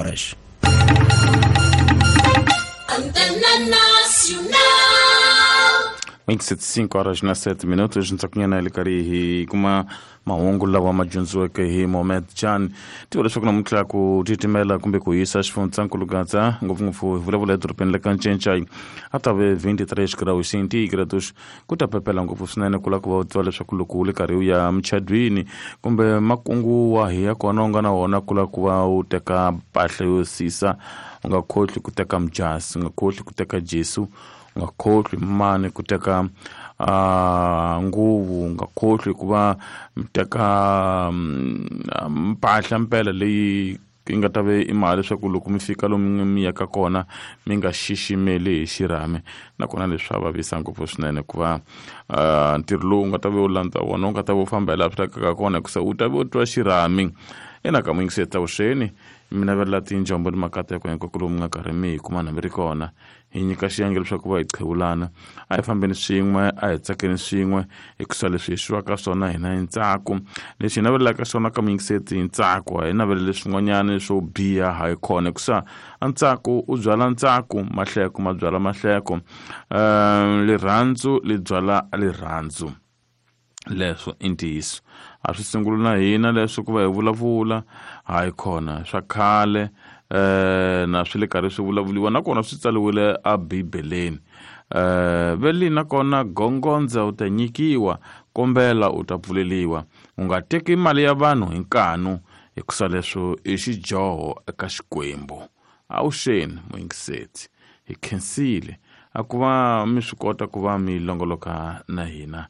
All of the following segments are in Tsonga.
horas. Antena Nacional. 5 horas na 7 minutos ntsakunyana le karhi hi kuma mahungu lawa ma dyondziweke hi Mohamed Chan. Tiva leswaku namuntlha ku titimela kumbe ku hisa xifundzankulu Gaza, ngopfungopfu hi vulavula edorobeni la ka Ncencai, a ta ve 23 graus centígrados. Ku ta pepela ngopfu swinene ku lava ku va u tiva leswaku loko u le karhi u ya muchadwini kumbe makungu wahi ya kona u nga na wona ku lava ku va u teka mpahla yo sisa, u nga khohlwi ku teka mujasi, u nga khohlwi ku teka jesu, u nga khohlwi mani ku teka nguvu, u nga khohlwi ku va mi teka mpahla mpela leyi yi nga ta ve i mali leswaku loko mi fika lomu mi yaka kona mi nga xiximeli hi xirhami. Nakona leswi swa vavisa ngopfu swinene ku va ntirho lowu nga ta ve u landza wona u nga ta ve u famba hi laha swi lavekaka kona, hikusa u ta ve u twa xirhami. Ina ka muyingiseri vuxeni, mi navelela tinjombo ni makateko hinkwako lomu nga karhi mi hi kuma na mi ri kona. Hi nyika xiyenge leswaku va hi qhewulana, a hi fambeni swin'we, a hi tsakeni swin'we, hikusa leswi hi xivaka swona hina hi ntsako, leswi hi navelelaka swona ka muyingiseti hi ntsako, a hi naveleli swin'wanyana swo biha ha yi kona, hikusa a ntsako u byala ntsako, mahleko ma byala mahleko, rirhandzu li byala rirhandzu. Leswo i ntiyiso, a swi sunguli na hina leswo ku va hi vulavula, hayi khona swa khale na swi le karhi swi vulavuliwa, nakona swi tsariwile a Bibeleni. Veli nakona gongondza u ta nyikiwa, kombela u ta pfuleliwa, u nga teki mali ya vanhu hi nkanu, hikusa leswo i xidyoho eka Xikwembu. Avuxeni muyingiseti, hi khensile a ku va mi swi kota ku va mi longoloka na hina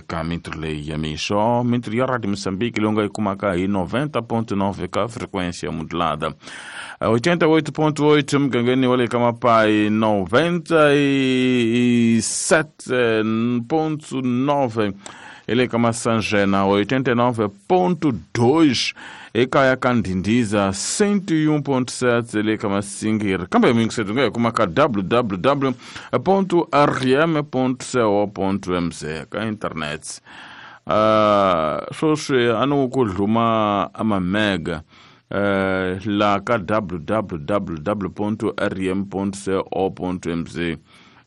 ka mintirho leyi ya mixo, mintirho ya Radio Mozambique leyi u nga yi kumaka hi 90.9 ka frequência modulada, 88.8 mugangeni wa le ka Mapai, 97.9 hi le ka Masanjena, 89.2 ekaya ka Ndhindiza, 101.7 le ka Masingiri. Kambe muyingiseti u nga yi kuma ka www.rm.co.mz ka internet. Sweswi a ni ku dluma amamega la ka www.rm.co.mz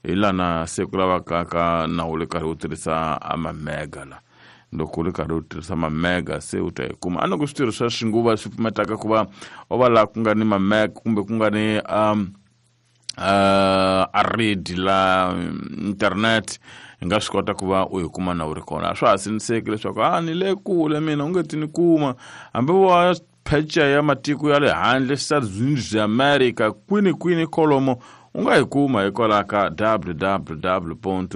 hi lana se ku lavaka ka nawu le karhi u tirhisa amamega la. Loko u ri karhi u tirhisa mamega se u ta yi kuma. A loko switirho swa xinguva swi pfumetaka ku va u va laha ku nga ni mamega kumbe ku nga ni a redi la internet, hi nga swi kota ku va u yi kuma na u ri kona. A swa ha siniseki leswaku a ni le kule mina u nge ti ni kuma, hambi wa phecha ya matiko ya le handle, Estados Unidos ya America, kwini kwini kolomo u nga yi kuma hikwalaho ka www.rm.co.mz.